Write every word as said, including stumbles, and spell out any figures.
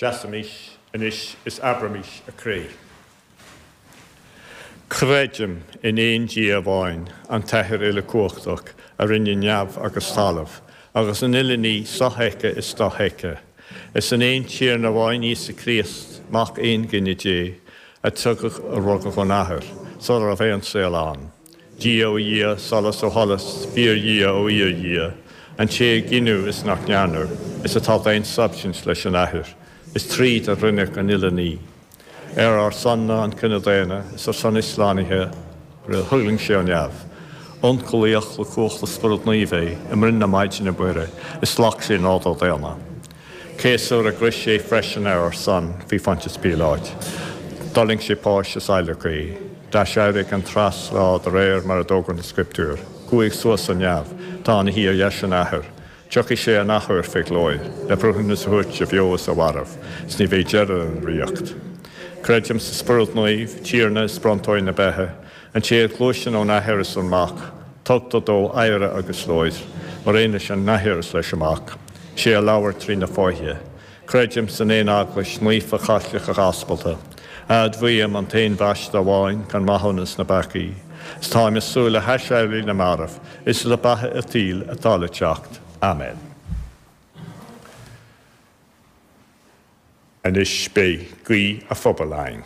Seasaimis anois is abraimis a Cré. Creidim in aon Dia amháin, an tAthair uilechumhachtach a rinne neamh agus talamh, agus an uile ní sofheicthe is dofheicthe. Is in aon Tiarna amháin Íosa Críost, Mac aongine Dé, a tugadh a rugadh ón Athair, sula raibh aon saol ann. Dia ó Dhia, solas ó sholas, fíor-Dhia ó fhíor-Dhia, an té a gineadh is nach ndearnadh, is atá d'aon substaint leis an Athair, is tríd a rinneadh an uile ní. Ar ár son-na, an cine daonna, is ar son ár slánaithe, thuirling sé ó neamh. Ionchollaíodh le cumhacht an Spioraid Naoimh é, i mbroinn na Maighdine Muire, is ghlac sé nádúr daonna. Céasadh ar an gcrois é freisin ar ár son, faoi Phontius Píoláit. D'fhulaing sé páis is adhlacadh é. D'aiséirigh an treas lá de réir mar a d'fhógair na Scrioptúir. Chuaigh suas go neamh, tá ina shuí ar dheis an Athar. Tiocfaidh sé an athuair fé ghlóir, le breithiúnas a thabhairt do bheo is do mharbh, is ní bheidh deireadh lena ríocht. Creidim sa Spiorad Naomh, Tiarna is bronntóir na beatha, an té a ghluaiseann ón Athair is ón Mac, tugtar dó adhradh agus glóir, mar aon leis an Athair is leis an Mac. Is é a labhair trí na fáithe. Creidim san aon Eaglais naofa Chaitliceach Aspalta. Admhaím an t-aon bhaisteadh amháin chun maithiúnas na bpeacaí. Is táim ag súil le haiséirí na marbh, is le beatha an tsaoil atá le teacht. Amen. Anois beidh guí an phobail againn.